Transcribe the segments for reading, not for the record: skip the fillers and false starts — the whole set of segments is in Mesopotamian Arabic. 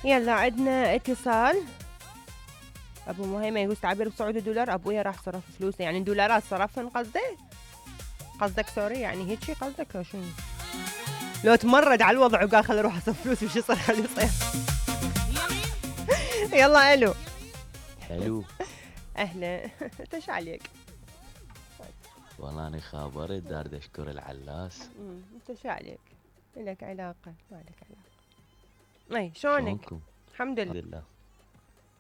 يلا عندنا اتصال. ابو مهيمة يقول تعبير بصعود الدولار، ابويا راح صرف فلوسه، يعني دولارات صرفن قصدك سوري، يعني هيك شي قصدك لو شنو؟ لو تمرد على الوضع وقال خل اروح اصرف فلوسي وش يصير خلي يصير. يلا الو. حلو. اهلا. انت ايش عليك؟ والله انا خابرت دار اشكر العلاس. انت ايش عليك؟ لك علاقة ما لك علاقة. اي شلونك؟ الحمد لله.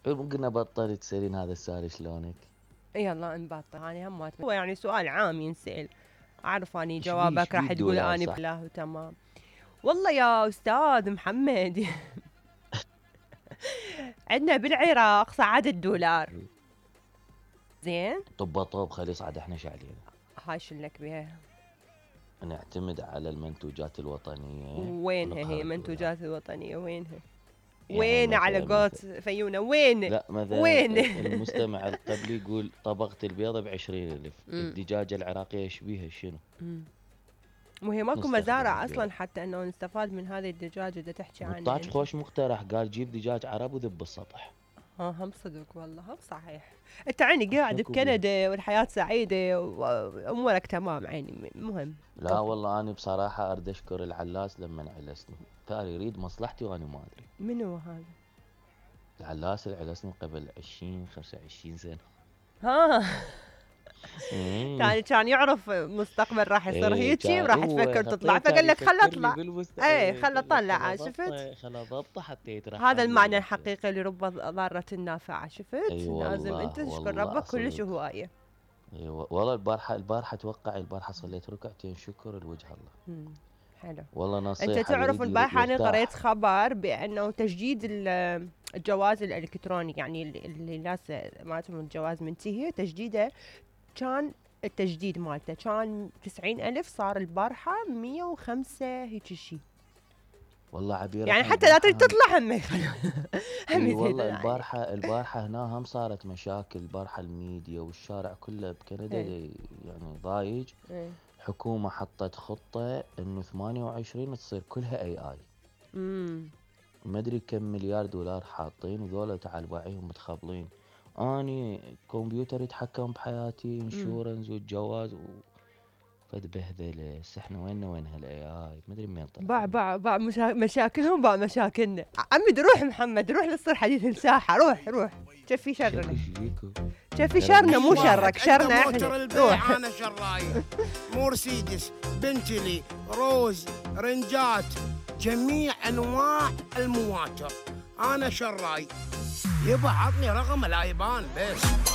ممكن نبطل تسألين هذا السؤال شلونك؟ يلا نبطل. انا هم هو يعني سؤال عام ينسأل، اعرف اني جوابك راح تقول اني بالله وتمام. والله يا استاذ محمد عندنا بالعراق صعد الدولار زين. طب خلي يصعد احنا ايش علينا؟ هاي شلك بيها؟ نعتمد على المنتوجات الوطنية. وينها هي المنتوجات الوطنية؟ وينها؟ يعني وين على قوت فيونا؟ وين؟ لا مثلا وين؟ المستمع القبلي يقول طبقة البيضة ب20,000. الدجاجة العراقية شبيها شنو؟ وهي ماكو مزارع اصلا حتى انه نستفاد من هذه الدجاجة. اذا تحكي عنها طاج خوش مقترح، قال جيب دجاج عرب وذب السطح. هم صدق والله، هم صحيح. انت عيني قاعد بكندا والحياة سعيدة وامورك تمام عيني مهم. لا والله انا بصراحة اريد اشكر العلاس لما علسني، ثاني يريد مصلحتي وانا ما ادري. منو هذا؟ العلاس اللي علسني قبل 25 سنة. ها يعني كان يعرف مستقبل راح يصير هيجي وراح تفكر تطلع، فقال لك خل اطلع. اي خل اطلع. شفت؟ خل اضبطه حتى يترحم. هذا المعنى الحقيقي لرب ضارة نافعة. شفت؟ لازم انت تشكر ربك كلش هواية. ايوه والله. البارحة اتوقع البارحة صليت ركعتين شكر لوجه الله. حلو والله نصيحة. انت تعرف البارحة انا قريت خبر بانه تجديد الجواز الالكتروني، يعني اللي الناس مالتهم الجواز منتهي تجديده، كان التجديد مالته كان 90,000 صار البارحة 105 هيك شيء. والله عبير يعني حتى لا تريد تطلع همك. والله البارحة هنا هم صارت مشاكل. البارحة الميديا والشارع كله بكندا يعني ضايج. حكومة حطت خطة انه 28 تصير كلها AI. ما ادري كم مليار دولار حاطين، وذولا تعال باعيهم متخبلين. اني كمبيوتر يتحكم بحياتي، انشورنس والجواز فد بهذله. احنا وين هالاي اي؟ ما ادري منين طلع. باع مشاكلهم باع مشاكلنا. عمي روح محمد، روح لتصير حديث الساحه. روح شوفي شرنا، شوفي شرنا مو شرك، شرنا احنا. روح. انا شراي مرسيدس، بنتلي، روز، رنجات، جميع انواع المواتر انا شراي. يبا عطني رقم الايبان بس.